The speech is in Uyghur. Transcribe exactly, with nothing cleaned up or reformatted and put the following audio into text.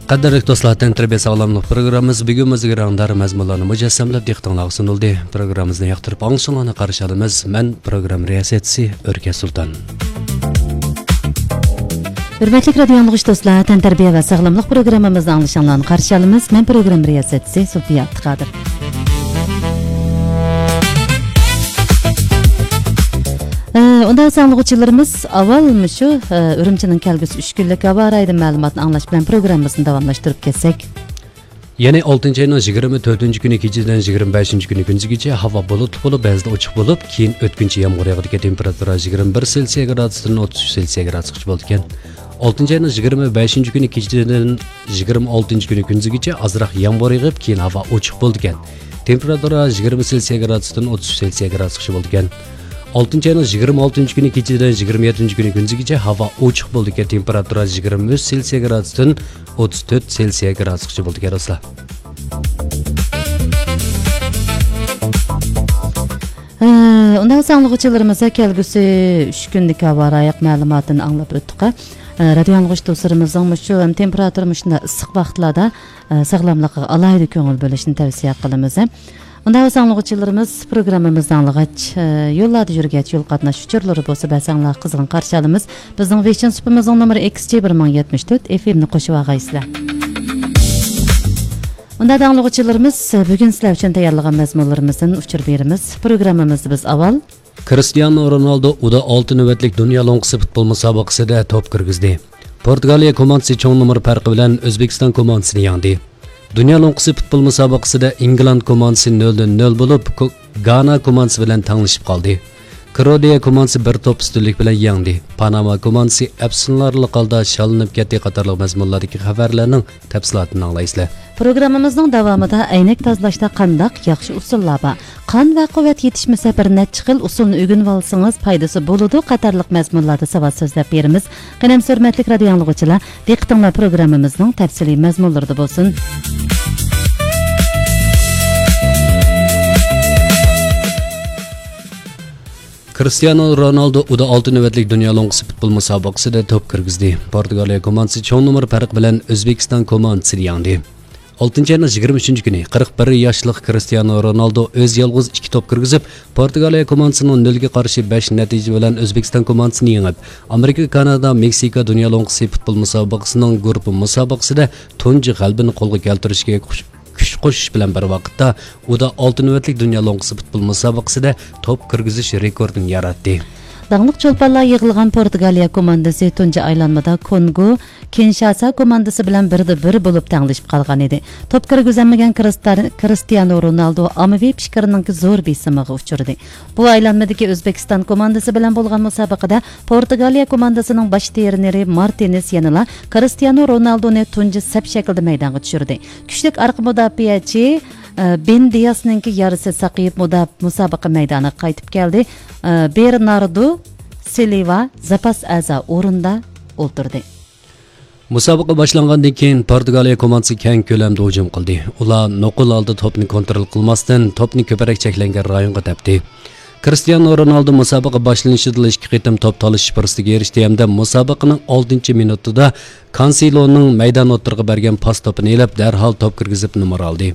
قەدىرلىك دوستلار، تەنتەربىيە ساغلاملىق پروگراممىمىز بۈگۈنمۇ زىگىرەڭدار مەزمۇنلارنى مۇجەسسەملەپ دىققىتىڭلارغا سۇنۇلدى. پروگراممىمىزنى ياقتۇرۇپ ئاڭلىشىڭلارنى قارشى ئالىمىز. مەن پروگرامما رىياسەتچىسى ئۆركەش سۇلتان. ھۆرمەتلىك رادىيو ئاڭلىغۇچى دوستلار، تەنتەربىيە ۋە ساغلاملىق پروگراممىمىزنى ئاڭلىشىڭلارنى قارشى ئالىمىز. مەن پروگرامما رىياسەتچىسى زۇلپىيە ئابدۇقادىر. ئە، ئۇنداق بولسا ئاڭلىغۇچىلىرىمىز ئاۋۋال مۇشۇ، ئە، ئۈرۈمچىنىڭ كەلگۈسى ئۈچ كۈنلۈك ھاۋا رايىدىن مەلۇماتنى ئاڭلاش بىلەن پروگراممىمىزنى داۋاملاشتۇرۇپ كەتسەك. يەنى ئالتىنچى ئاينىڭ يىگىرمە تۆتىنچى كۈنى كېچىدىن يىگىرمە بەشىنچى كۈنى كۈندۈزگىچە ھاۋا بۇلۇتلۇق بولۇپ، بەزىدە ئوچۇق بولۇپ، كېيىن ئۆتكۈنچى يامغۇر ياغىدىكەن. تېمپېراتۇرا يىگىرمە بىر سېلسىيە گرادۇستىن ئوتتۇز ئۈچ سېلسىيە گرادۇسقىچە بولىدىكەن. ئالتىنچى ئاينىڭ يىگىرمە بەشىنچى كۈنى كېچىدىن يىگىرمە ئالتىنچى كۈنى كۈندۈزگىچە ئازراق يامغۇر يېغىپ، كېيىن ھاۋا ئوچۇق بولىدىكەن. تېمپېراتۇرا يىگىرمە سېلسىيە گرادۇستىن ئوتتۇز ئۈچ سېلسىيە گرادۇسقىچە بولىدىكەن. ئالتىنچى ئاينىڭ يىگىرمە ئالتىنچى كۈنى كېچىدىن يىگىرمە يەتتىنچى كۈنى كۈندۈزگىچە ھاۋا ئوچۇق بولىدىكەن. تېمپېراتۇرا يىگىرمە ئۈچ سېلسىيە گرادۇستىن ئوتتۇز تۆت سېلسىيە گرادۇسقىچە بولىدىكەن، دوستلار. ھە، ئۇنداق بولسا ئاڭلىغۇچىلىرىمىزغا كەلگۈسى ئۈچ كۈنلۈك ھاۋا رايى مەلۇماتىنى ئاڭلاپ ئۆتتۇق. ھە، رادىيو ئاڭلىغۇچى دوستلىرىمىزنىڭ مۇشۇ ھەم تېمپېراتۇرا مۇشۇنداق ئىسسىق ۋاقىتلاردا، ھە، ساغلاملىقىغا ئالاھىدە كۆڭۈل بۆلۈشىنى تەۋسىيە قىلىمىز. ئۇنداق بولسا ئاڭلىغۇچىلىرىمىز پروگراممىمىزنى ئاڭلىغاچ، ھە، يوللاردا يۈرگەچ يول قاتناش ئۇچۇرلىرى بولسا بەرسەڭلار قىزغىن قارشى ئالىمىز. بىزنىڭ ۋېچىن سۇپىمىزنىڭ نومۇرى ئېكس جى بىر مىڭ يەتمىش تۆت، ئېف ئېم نى قوشۇۋالغايسىلەر. ئۇنداق ئاڭلىغۇچىلىرىمىز، بۈگۈن سىلەر ئۈچۈن تەييارلىغان مەزمۇنلىرىمىزدىن ئۇچۇر بېرىمىز. پروگراممىمىزدا بىز ئاۋۋال كرىستىيانو رونالدو ئۇدا ئالتە نۆۋەتلىك دۇنيا لوڭقىسى پۇتبول مۇسابىقىسىدە توپ كىرگۈزدى. پورتۇگالىيە كوماندىسى چوڭ نومۇر پەرقى بىلەن ئۆزبېكىستان كوماندىسىنى يەڭدى. دۇنيا لوڭقىسى پۇتبول مۇسابىقىسىدە ئىنگلاند كوماندىسى نۆلدىن نۆل بولۇپ، كو-، گانا كوماندىسى بىلەن تەڭلىشىپ قالدى. كروئاتىيە كوماندىسى بىر توپ ئۈستۈنلۈك بىلەن يەڭدى. پاناما كوماندىسى ئەپسۇنلارلىق ھالدا شاللىنىپ كەتتى قاتارلىق مەزمۇنلاردىكى خەۋەرلەرنىڭ تەپسىلاتىنى ئاڭلايسىلەر. پروگراممىمىزنىڭ داۋامىدا ئەينەك تازىلاشتا قانداق ياخشى ئۇسۇللار بار؟ قان ۋە قۇۋۋەت يېتىشمىسە، بىر نەچچە خىل ئۇسۇلنى ئۆگىنىۋالسىڭىز پايدىسى بولىدۇ قاتارلىق مەزمۇنلاردا ساۋات سۆزلەپ بېرىمىز. قېنى ئەمىسە، ھۆرمەتلىك رادىيو ئاڭلىغۇچىلار، دىققىتىڭلار پروگراممىمىزنىڭ تەپسىلىي مەزمۇنلىرىدا بولسۇن. كرىستىيانو رونالدو ئۇدا ئالتە نۆۋەتلىك دۇنيا لوڭقىسى پۇتبول مۇسابىقىسىدە توپ كىرگۈزدى. پورتۇگالىيە كوماندىسى چوڭ نومۇر پەرقى بىلەن ئۆزبېكىستان كوماندىسىنى يەڭدى. ئالتىنچى ئاينىڭ يىگىرمە ئۈچىنچى كۈنى قىرىق بىر ياشلىق كرىستىيانو رونالدو ئۆزى يالغۇز ئىككى توپ كىرگۈزۈپ، پورتۇگالىيە كوماندىسىنىڭ نۆلگە قارشى بەش نەتىجە بىلەن ئۆزبېكىستان كوماندىسىنى يېڭىپ، ئامېرىكا، كانادا، مېكسىكا دۇنيا لوڭقىسى پۇتبول مۇسابىقىسىنىڭ گۇرۇپپا مۇسابىقىسىدە تۇنجى غەلىبىنى قولغا كەلتۈرۈشكە كۈچ، كۈچ قوشۇش بىلەن بىر ۋاقىتتا، ئۇدا ئالتە نۆۋەتلىك دۇنيا لوڭقىسى پۇتبول مۇسابىقىسىدە توپ كىرگۈزۈش رېكورتىنى ياراتتى. داڭلىق چولپانلار يىغىلغان پورتۇگالىيە كوماندىسى تۇنجى ئايلانمىدا كونگو، كىنشاسا كوماندىسى بىلەن بىردە بىر بولۇپ تەڭلىشىپ قالغان ئىدى. توپ كىرگۈزەلمىگەن كرىستار-، كرىستىيانو رونالدو ئاممىۋى پىكىرنىڭكى زور بېسىمىغا ئۇچرىدى. بۇ ئايلانمىدىكى ئۆزبېكىستان كوماندىسى بىلەن بولغان مۇسابىقىدە پورتۇگالىيە كوماندىسىنىڭ باش ترېنېرى مارتىنېز يەنىلا كرىستىيانو رونالدونى تۇنجى سەپ شەكلىدە مەيدانغا چۈشۈردى. كۈچلۈك ئارقا مۇداپىئەچى، ئە، بېن دىياسنىڭكى يارىسى ساقىيىپ مۇدا-، مۇسابىقە مەيدانىغا قايتىپ كەلدى. ئە، بېرناردو سىلۋا زاپاس ئەزا ئورنىدا ئولتۇردى. مۇسابىقە باشلانغاندىن كېيىن پورتۇگالىيە كوماندىسى كەڭ كۆلەمدە ھۇجۇم قىلدى. ئۇلار نوقۇل ھالدا توپنى كونترول قىلماستىن، توپنى كۆپرەك چەكلەنگەن رايونغا تەپتى. كرىستىيانو رونالدو مۇسابىقە باشلىنىشىدىلا ئىككى قېتىم توپ تالىشىش پۇرسىتىگە ئېرىشتى ھەمدە مۇسابىقىنىڭ ئالتىنچى مىنۇتىدا كانسېلونىڭ مەيدان ئوتتۇرىغا بەرگەن پاس توپىنى ئېلىپ، دەرھال توپ كىرگۈزۈپ نومۇر ئالدى.